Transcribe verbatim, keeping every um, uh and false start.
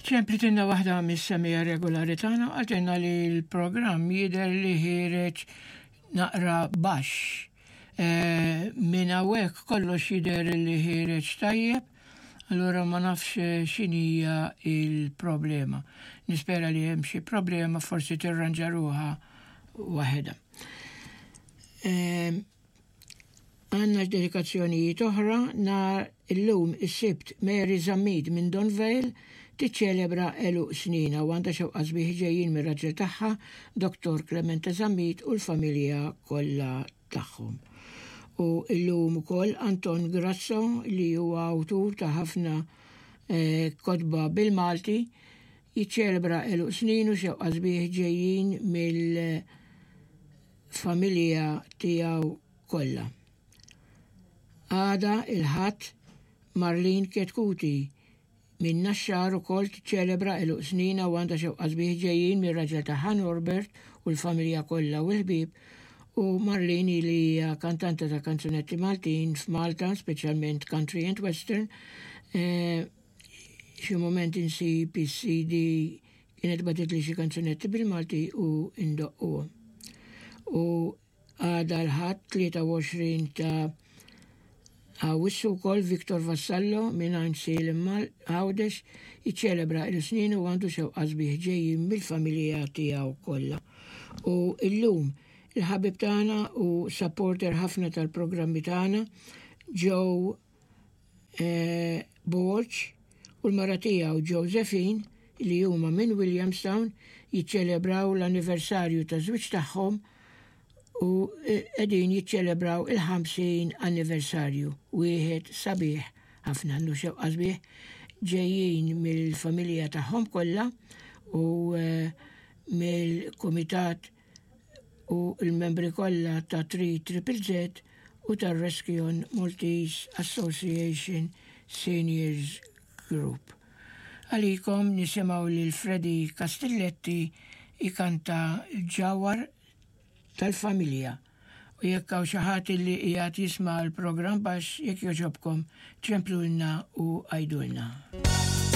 Ċemplitilna waħda mis-semmiegħa regolari tagħna, qaltilna li l-programm jidher li ħiereġ naqra baxx. E, Minn hawnhekk kollox jidher li ħiereġ tajjeb, allura ma nafx x'inhija il-problema. Nispera li hemm xi problema, forsi tirranġa ruħha waħedha. E, Għandna dedikazzjonijiet oħra. Nhar illum, is-Sibt, Mary Zammit minn Donvale tiċċelebra għeluq sninha u għandha xewqat sbieħ ġejjin mir-raġel tagħha, Doktor Clemente Zammit, u l-familja kollha tagħhom. U illum ukoll Anton Grasso, li huwa awtur ta' ħafna eh, kotba bil-Malti, jiċċelebra għeluq snin u xewqat sbieħ ġejjin mill-familja tiegħu kollha. Għada, il-Ħadd, Marlene Ketkuti minn Naxxar ukoll tiċċelebra għeluq sninha u għandha xewqat sbieħ ġejjin mir-raġel tagħha Norbert u l-familja kollha u l-ħbieb. U Marlene, li hija kantanta ta' kanzunetti Maltin f'Malta, speċjalment country and western, eh, xi moment insib is-C D, kienet bagħtet li xi kanzunetti bil-Malti u indoqquhom. U għada, l-Ħadd tlieta u għoxrin ta' Awwissu wkoll, Victor Vassallo minn Għajnsielem Għawdex jiċċelebra l-snin u għandu xewqat sbieħ ġejjin mill-familja tiegħu kollha. U illum il-ħabib tagħna u supporter ħafna tal-programmi tagħna, Joe eh, Borg, u l-mara tiegħu Josephine, li huma minn Williamstown, jiċċelebraw l-anniversarju ta' żwieġ tagħhom u qegħdin jiċċelebraw il-ħamsin anniversarju, wieħed sabiħ ħafna. Għandu xewqat sbieħ ġejjin mill-familja tagħhom kollha u eh, mill-kumitat u l-membri kollha ta' three Triple Z u tar-Rescue Maltese Association Seniors Group. Għalikom nisimgħu lil Freddy Castelletti ikanta Ġawhar tal-Familja. U jekk hawn xi ħadd li qiegħed jisma' l-programm baxx, jekk jogħġobkom ċemplulna u għidulna.